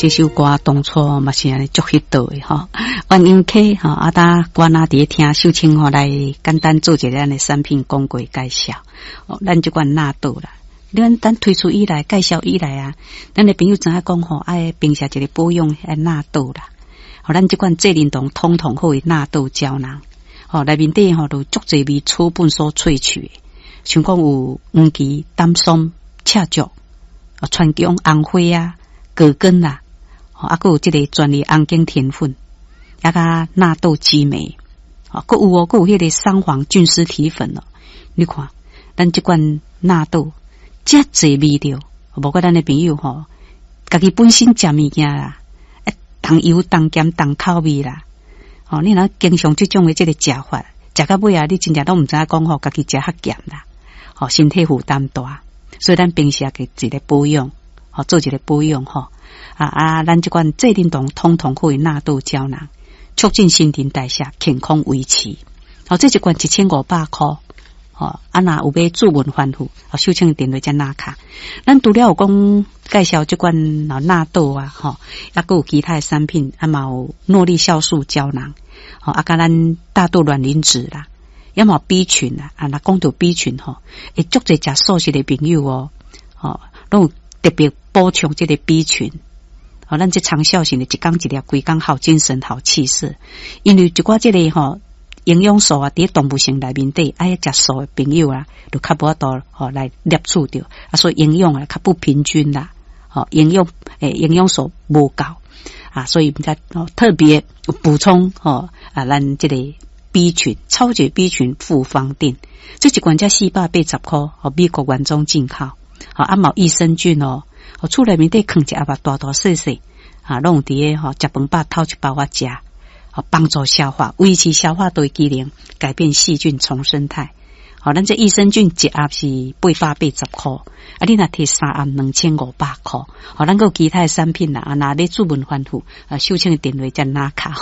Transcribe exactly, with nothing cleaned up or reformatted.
這首歌當初嘛是按呢足彼道的吼，鸳鸯溪吼，啊，搭我若佇咧聽秀清吼來簡單做一个咱的產品廣告介紹。哦，咱這款納豆啦，咱咱推出以來介紹以來啊，咱的朋友知影講吼，愛平時一个保養愛納豆啦。吼，咱這款濟寧堂通通好的納豆膠囊，吼，內面底吼都足濟味草本所萃取的，像講有黃芪、丹參、赤石、川芎、紅花啊、葛根啦，吼，啊，閣有這个專利紅景天粉，啊，佮納豆激酶，吼，閣有哦，閣有彼个桑黃菌絲體粉哦。你看，咱這款納豆遮濟味道，無怪咱的朋友吼，家己本身食物件啦，重油、重鹹、重口味啦，吼，你若經常這種的這个食法，食到尾啊，你真正攏毋知影講吼，家己食較鹹啦，吼，身體負擔大，所以咱平時也給一个保養，吼，做一个保養吼，啊啊，咱這款濟寧堂通通好的納豆膠囊，促進新陳代謝，健康維持，吼，這一罐一千五百箍，吼，啊，若有欲注文翻覆，哦，秀清電話才拿卡。咱除了有講介紹這款納豆啊，吼，抑閣有其他的產品，啊嘛有諾麗酵素膠囊，吼，啊，佮咱大豆卵磷脂啦，抑嘛 B 群啦，啊，若講到 B 群吼，會足濟食素食的朋友哦，吼，攏有特別補充這个 B 群，吼，咱這長效型的，一工一粒，規工好精神、好氣色。因為一寡這个吼營養素啊，佇動物性內面底，愛食素的朋友啊，就較無法度吼來攝取著，啊，所以營養啊較不平均啦，吼，營養誒營養素無夠啊，所以才特別補充吼啊，咱這個 B 群超級 B 群複方錠，這一罐才四百八十箍，吼，美國原裝進口，吼，啊嘛有益生菌哦，厝內面底囥一盒大大細細，啊，攏有佇个吼食飯飽頭一包仔食。幫助消化，維持消化道機能，改變細菌叢生態。好，咱這益生菌一盒是八百八十箍，啊，你若提三盒兩千五百箍。好，咱閣有其他的產品啦，啊，若欲注文反覆，啊，秀清的電話才拿卡吼。